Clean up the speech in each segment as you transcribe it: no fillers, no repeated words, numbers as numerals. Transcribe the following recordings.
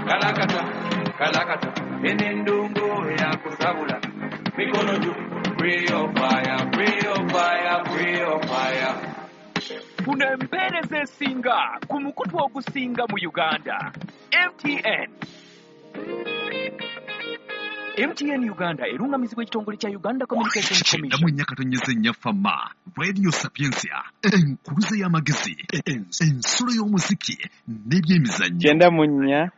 Kalakata, kalakata, enendongo yakusabula. Mikono juu, real fire, real fire, real fire. Funa empeereza esinga ku mukutu ogusinga mu Uganda. MTN. MTN Uganda erungamizibwa ekitongole kya Uganda Communications Kyenda Commission. Mu nnya katonyeze nnya Fama Radio Sapientia, enkuluze y'amagezi, ensulo y'omuziki n'ebyemizannyo. 94,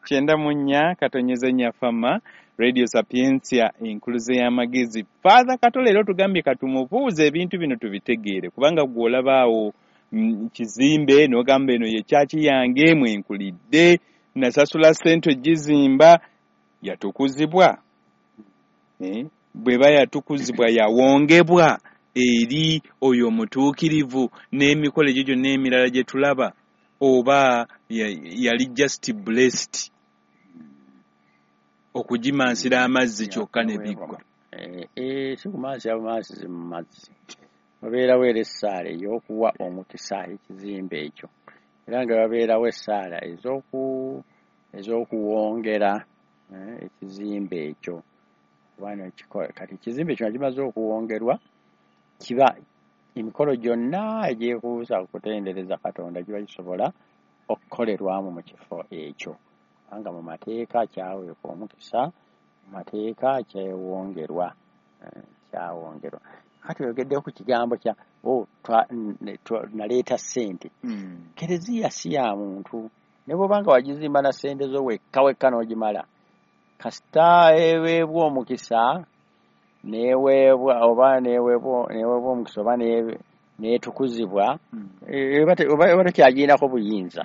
94.4 Fama Radio Sapientia, enkuluze y'amagezi. Father Kato leero tugambye katumubuuze ebintu bino tubitegeere, kubanga gwe olabaawo kizimbe n'ogamba eno ye kyaki yange mwenkulidde, nasasula ssente ogizimba, yatukuzibwa. Bw'eba yatukuzibwa, yawongebwa eri oyo omutuukirivu n'emikolo egyo gyonna emirala gye tulaba, oba yali just blessed okugimansira amazzi kyokka ne biggwa? Si kumansira bumansizi mu mazzi, wabeerawo era essaala ey'okuwa omukisa ekizimbe ekyo, era nga wabeerawo essaala ez'okuwongera ekizimbe ekyo. Kubanga kati ekizimbe ekyo nga kimaze okuwongerwa, kiba emikolo gyonna egyekuusa ku kutendereza Katonda kiba kisobola okukolerwamu mu kifo ekyo, kubanga mu mateeka kyaweebwa omukisa, mu mateeka kyawongerwa. Kati oyogeddeko ku kigambo kya oh, naleeta ssente. Kereziya si ya muntu, ne bw'oba nga wagizimba na ssente zo wekka wekka n'ogimala, kasita eweebwa omukisa neweebwa oba neweebwa omukisa oba neetukuzibwa, oba tokyagirinako buyinza.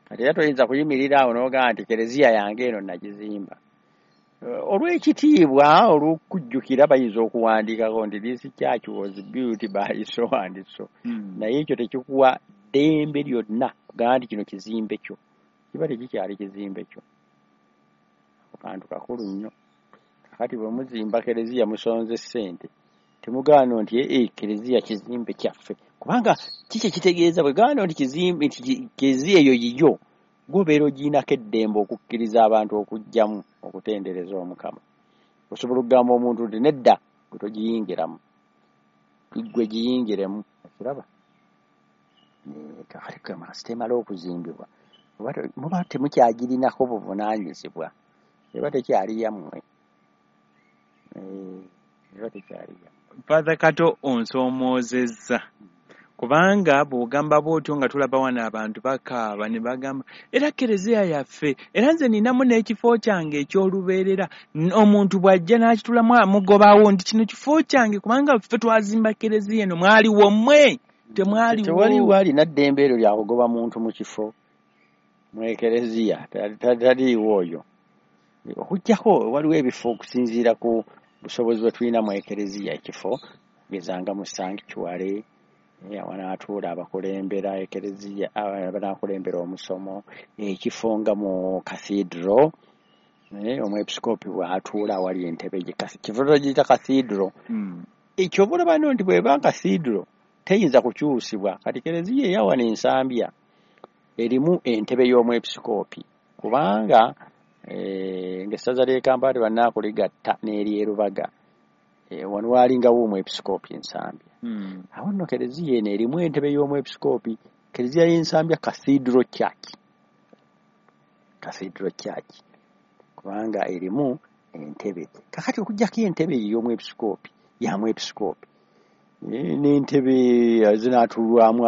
Kati era toyinza kuyimirira awo n'ogamba nti kereziya yange eno nagizimba. Olw'ekitiibwa, olw'okujjukira, bayinza okuwandiikako nti this church was built by so and so. Naye ekyo tekikuwa ddembe lyonna kugamba nti kino kizimbe kyo, kiba tekikyali kizimbe kyo. Ako kantu kakulu nnyo. Kakati bwe muzimba kereziya musonze ssente, temugaana nti kereziya kizimbe kyaffe, kubanga kiki kitegeeza bwe gaana nti kizimbe, nti kereziya eyo yiyo, gw'obeera ogirinako eddembe okukkiriza abantu okujjamu okutendereza Omukama. Osobola okugamba omuntu nti nedda, gwe togiyingiramu, gwe giyingiremu, okiraba? Kakati kugamba kasita emala okuzimbibwa, muba temukyagirinako buvunaanyizibwa, eba tekyali yammwe. Eba tekyali yammwe. Father Kato onsoomoozezza, kubanga bw'ogamba bw'otyo nga tulaba wano abantu bakaaba ne bagamba era kereziya yaffe, era nze ninamu n'ekifo kyange eky'olubeerera. Omuntu bw'ajja n'akitulamu amugobawo nti kino kifo kyange kubanga ffe twazimba kereziya eno, mwaliwo mmwe? Temwaliwo. Tewaliwo alina ddembe eryo lya kugoba muntu mu kifo mu ekereziya, taliiwo oyo. Okuggyako waliwo ebifo okusinziira ku busobozi bwe tulina mu ekereziya, ekifo gezanga mu sanctuary, wanaatuula abakulembera ekereziya, abanaakulembera omusomo, ekifo nga mu cathedral, omwepisikoopi bw'atuula awali entebe gye, kifo togiyita cathedral. Ekyo oba olaba nno nti bw'eba cathedral teyinza kukyusibwa. Kati kereziya eya wano Ensambya erimu entebe y'omwepisikoopi, kubanga ng'essaza ly'e Kampala tebannaakuligatta n'ery'e Lubaga, wano waalingawo omwepisikoopi Ensambya. Awo nno kereziya eno erimu entebe y'omwepisikoopi, kereziya y'Ensambya Cathedral Church, Cathedral Church, kubanga erimu entebe. Kakati okuggyako entebe ey'omwepisikoopi ya mwepisikoopi, n'entebe zinaatuulwamu